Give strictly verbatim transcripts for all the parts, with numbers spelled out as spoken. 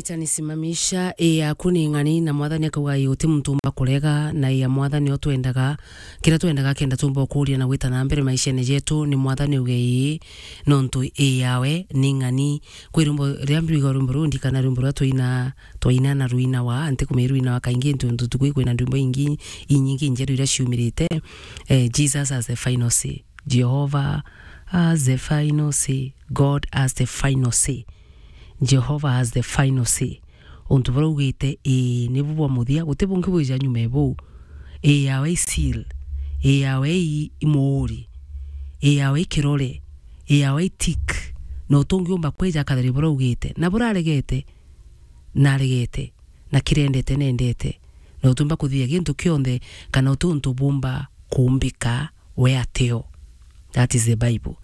Itanisimamisha, ii yaku ni ng'ani, na Mwathani akauga, ii, uti muntu umba kurega, na ii ya Mwathani o twendaga, kiria twendaga kenda tumba ukuria na gwita na mbere maishene jetu, ni Mwathani uge ii, nontu ii yawe ni ng'ani. Kwi rwimbo riria mbigua rwimbo ruu, ndikana rwimbo ruria twaina, twaina na rwinawa, ntikumenya rwinawa kaingi, ntu, ntu tukui kwina ndwimbo ingi, inyingi njeru iria ciumirite. Eh, Jesus has the final say. Jehovah has the final say. God has the final say. Jehovah has the final say. Untu buria augite, ii, nibu bwa muthia, guti bungi bwija nyuma e buu. Ii yawe i seal, ii yawe i, i muuri, ii yawe i kirore, ii yawe i tick. Na utungi umba kwija akathari buria augite. Na buraregete, naregete, na kirendete, nendete. Na utiumba kuthithia gintu kionthe, kana uti untu bumba kumbika we ateo. That is the Bible.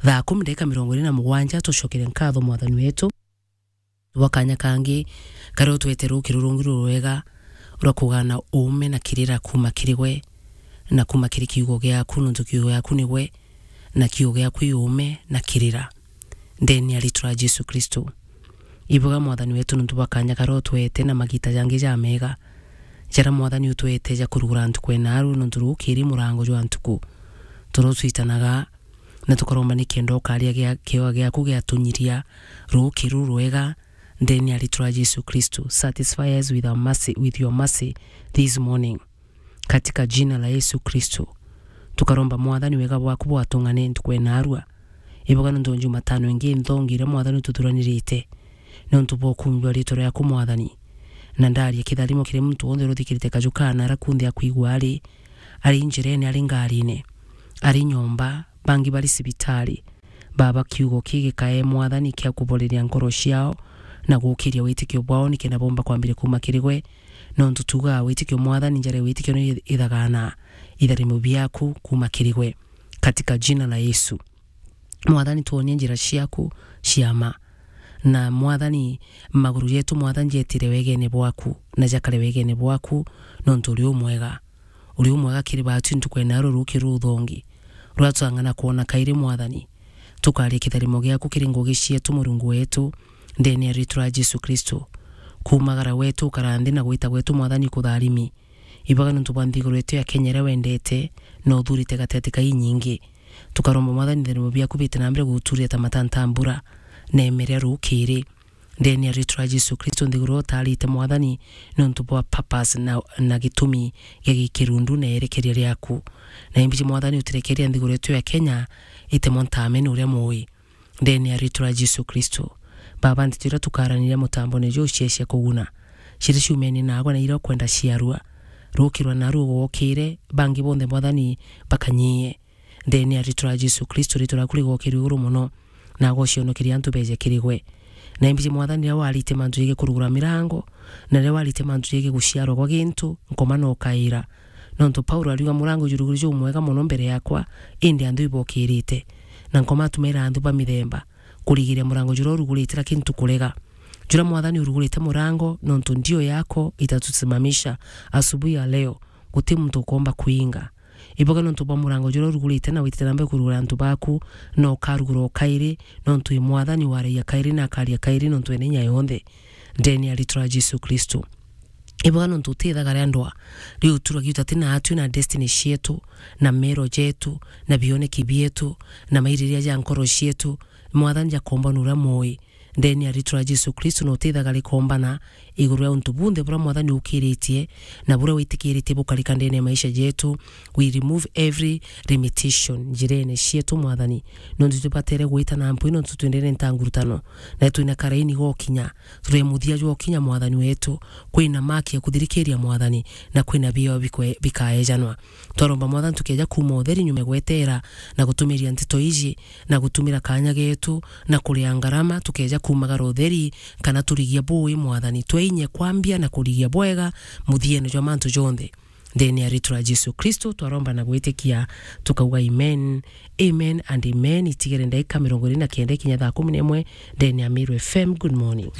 Thaa kumi ndagika mirongo iri na mugwanja, tucokere nkatho Mwathani wetu. Bwa kanya kangi, karia utwete ruki rurungi rurwega rwa kugana uume na kirira kuuma kiri gwe, na kuuma kiri kiugo giaku, nontu kiugo giaku ni gwe, na kiugo giaku i uume na kirira. Ndeni ya ritwa ria Jesu Kristo. Ibuga Mwathani wetu nontu bwa kanya karia utwete na magita jangi jamega, jaria Mwathani utwete ja kurugura ntuku ena aru, nontu ruki ri murango jwa ntuku. Toro twitanaga, na tukaromba nikenda ukaria gia-, kiewa giaku giatunyiria ruki ruru rwega, ndeni ya ritwa ria Jesu Kristo. Satisfy us with our mercy, with your mercy this morning. Katika jina la Yesu Kristo, tukaromba Mwathani wega bwaku bwatung'ane ntuku ena arua. Ibuga nontu Jumatano ingi nthongi iria Mwathani ututhuranirite, nontu bwa ukumbi wa ritwa riaku Mwathani. Na ndaria kitharimo kiri muntu wonthe uruthikirite kaju kana ara kunthe akwigua ari, ari njirene, ari ngarine, ari nyomba, bangi bari cibitari. Baba, kiugo kii gikae Mwathani kia kuboreria nkoro ciao na gukiria witikio bwao, nikenda bomba kwambiria kuuma kiri gwe. Nontu tuugaa witikio, Mwathani, njara ya witikio ni ithagana itharimo biaku kuuma kiri gwe, katika jina la Yesu. Mwathani, twonie njira ciaku cia ma. Na Mwathani, maguru jetu, Mwathani, jetire wegene bwaku, na jakare wegene bwaku, nontu uri umwega. Uri umwega kiri baatu ntuku ena ruruki ruthongi, rwatwang'ana kwona kairi, Mwathani. Tukaria kitharimo giaku kiri ngugi cietu, Murungu wetu, ndene ya ritwa ria Jesu Kristo. Kuumagara gwetu, ukara nthi na gwita gwetu, Mwathani, kutharimi. Ibaga nontu bwa nthiguru yetu ya Kenya iria wendete na uthurite gateti ka inyingi. Tukaromba, Mwathani, itharimo biaku bite na mbere guturia ta matanta mbura, na imeria rukiri. Ndene ya ritwa ria Jesu Kristo, nthiguru utarite, Mwathani, nontu bwa purpose na, na gitumi gia gikirundu na erekeria riaku. Na imbiji, Mwathani, utirekeria nthiguru yetu ya Kenya itemwa ntamene uria mui. Ndene ya ritwa ria Jesu Kristo. Baba, nteto iria tukaraniria mutambone juu cia, cia kuguna, ciria ciumene nagwe na iria ukwenda ciarua. Rukirwa naru ugokire, bangi bonthe, Mwathani, bakanyie. Ndene ya ritwa ria Jesu Kristo, ritwa riaku rigokirwe iguru mono, na agocionokeria antu beje kiri gwe. Na imbiji, Mwathani, riria warite mantu jegii kurugura mirango, na riria warite mantu jegii guciarwa gwa gintu, nkoma na ukaira. Nontu Paulo ariuga, murango juruguri jumwega mono mbere yakwa, indi anthu ibokirite. Na nkoma atumaira anthu ba mithemba kurigiria murango juria urugurite, lakini tukurega. Juria, Mwathani, urugurite murango, nontu ndio yako itatusimamisha asubuhi ya leo, guti muntu ukomba kuinga. Iboga nontu bwa murango juria urugurite na witite na mbere kurugura antu baku, na ukarugura o kairi, nontu i Mwathani waragia kairi na akaria kairi nontu ena inya yonthe. Ndene ya ritwa ria Jesu Kristo. Iboga nontu utithaga ria ndwa, riu uturagi utati na atwi na destiny cietu, na mero jetu, na bioneki bietu, na mairiria ja nkoro cietu, Mwathani jakomba nuria moi. Ndene ya ritwa ria Jesu Kristo, na utithaga rikombana iguru ria untu bunthe buria Mwathani ukiritie, na buria witikiritie bukarika ndene ya maisha jetu. We remove every limitation njirene cietu, Mwathani, nontu tubatere gwita na mpwi, nontu twendere ntangurutano, na twina karaini gokinya, turi muthia jwokinya, Mwathani wetu. Kwina maki ya kuthirikiria, Mwathani, na kwina bio bikwe-, bikaejanwa. Twaromba, Mwathani, tukeja kuuma utheri nyuma ya gwetera na gutumiria nteto iji, na gutumira kanya getu, na kuria ngarama, tukeja kuumagara utheri, kana turigia bui, Mwathani. Tweinye kwambia na kurigia bwega muthiene jwa mantu jonthe. Ndene ya ritwa ria Jesu Kristo, twaromba na gwitikia, tukauga, amen, amen and amen. Itigere ndagika mirongo iri na kenda ikinya thaa kumi na imwe, ndene ya Meru F M. Good morning.